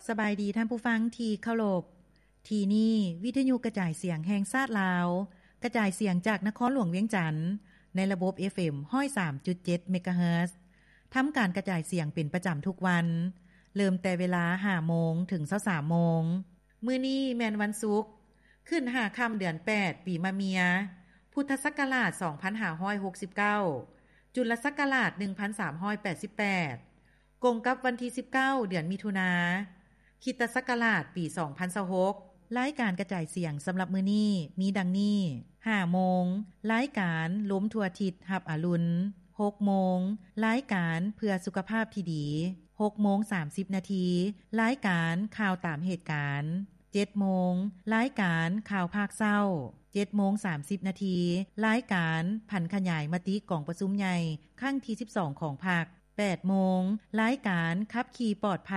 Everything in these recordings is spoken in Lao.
ສະບາຍດີທ່ານຜູ້ຟັງທີ່ເຄົາລົບ. ທີ່ນີ້ວິທະຍຸກະຈາຍສຽງແຫ່ງຊາດລາວ, ກະຈາຍສຽງຈາກນະຄອນຫຼວງວຽງຈັນ ໃນລະບົບ ເອັຟເອັມ ຮ້ອຍສາມຈຸດເຈັດ ເມກາເຮີດ. ທຳການກະຈາຍສຽງເປັນປະຈຳທຸກວັນ, ເລີ່ມແຕ່ເວລາ ຫ້າໂມງ ເຖິງ ຊາວສາມໂມງ. ມື້ນີ້ແມ່ນວັນສຸກ, ຂຶ້ນຫ້າຄ່ຳເດືອນແປດ ປີມະເມຍ, ພຸດທະສັກກະລາດ ສອງພັນຫ້າຮ້ອຍຫົກສິບເກົ້າ, ຈຸລະສັກກະລາດ ໜຶ່ງພັນສາມຮ້ອຍແປດສິບແປດ, ກົງກັບວັນທີ ສິບເກົ້າ ເດືອນມິຖຸນາ, ຄຣິສຕະສັກກະລາດ ປີ ສອງພັນຊາວຫົກ. ລາຍການກະຈາຍສຽງສຳລັບມື້ນີ້ມີດັ່ງນີ້: ຫ້າໂມງ, ລາຍການລົມທົ່ວທິດຮັບອະລຸນ. ຫົກໂມງ, ລາຍການເພື່ອສຸຂະພາບທີ່ດີ. ຫົກໂມງ ສາມສິບນາທີ, ລາຍການຂ່າວຕາມເຫດການ. ເຈັດໂມງ, ລາຍການຂ່າວພາກເຊົ້າ. ເຈັດໂມງ ສາມສິບນາທີ, ລາຍການຜັນຂະຫຍາຍມະຕິກອງປະຊຸມໃຫຍ່ຄັ້ງທີ ສິບສອງ ຂອງພັກ. ແປດໂມງ, ລາຍການຂັບຂີ່ປອດໄພ.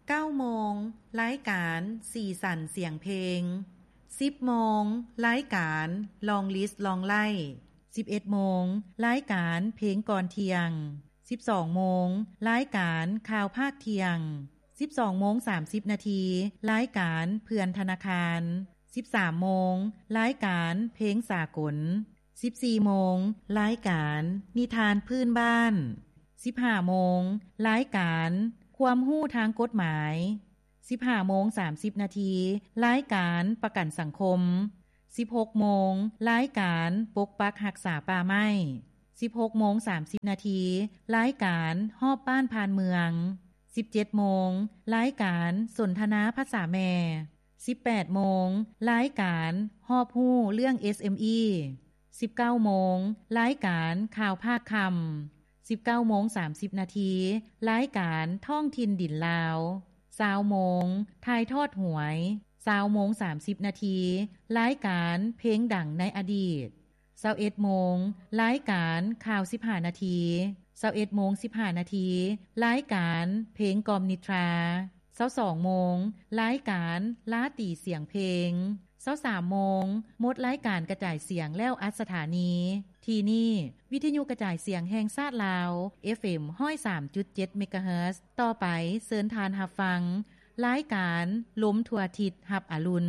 ເກົ້າໂມງ, ລາຍການສີສັນສຽງເພງ. ສິບໂມງ, ລາຍການ Long List Long Live. ສິບເອັດໂມງ, ລາຍການເພງກ່ອນທ່ຽງ. ສິບສອງໂມງ, ລາຍການຂ່າວພາກທ່ຽງ. ສິບສອງໂມງ ສາມສິບນາທີ, ລາຍການເພື່ອນທະນາຄານ. ສິບສາມໂມງ, ລາຍການເພງສາກົນ. ສິບສີ່ໂມງ, ລາຍການນິທານພື້ນບ້ານ. ສິບຫ້າໂມງ, ລາຍການຄວາມຮູ້ທາງກົດໝາຍ. ສິບຫ້າໂມງ ສາມສິບນາທີ, ລາຍການປະກັນສັງຄົມ. ສິບຫົກໂມງ, ລາຍການປົກປັກຮັກສາປ່າໄມ້. ສິບຫົກໂມງ ສາມສິບນາທີ, ລາຍການຮອບບ້ານຜ່ານເມືອງ. ສິບເຈັດໂມງ, ລາຍການສົນທະນາພາສາແມ່. ສິບແປດໂມງ, ລາຍການຮອບຮູ້ເລື່ອງ ເອສເອັມອີ. ສິບເກົ້າໂມງ, ລາຍການຂ່າວພາກຄ່ຳ. ສິບເກົ້າໂມງ ສາມສິບນາທີ, ລາຍການທ້ອງຖິ່ນດິນລາວ. ຊາວໂມງ, ຖ່າຍທອດຫວຍ. ຊາວໂມງ ສາມສິບນາທີ, ລາຍການເພງດັງໃນອະດີດ. ຊາວເອັດໂມງ, ລາຍການຂ່າວ ສິບຫ້ານາທີ. ຊາວເອັດໂມງ ສິບຫ້ານາທີ, ລາຍການເພງກ່ອມນິດທາ. ຊາວສອງໂມງ, ລາຍການລາຕີສຽງເພງ. ຊາວສາມໂມງ, ໝົດລາຍການກະຈາຍສຽງແລ້ວອັດສະຖານີ. ທີ່ນີ້ ວິທະຍຸກະຈາຍສຽງແຫ່ງຊາດລາວ ເອັຟເອັມ ຮ້ອຍສາມຈຸດເຈັດ ເມກາເຮີດ. ຕໍ່ໄປເຊີນທ່ານຮັບຟັງ ລາຍການລົມທົ່ວທິດຮັບອະລຸນ.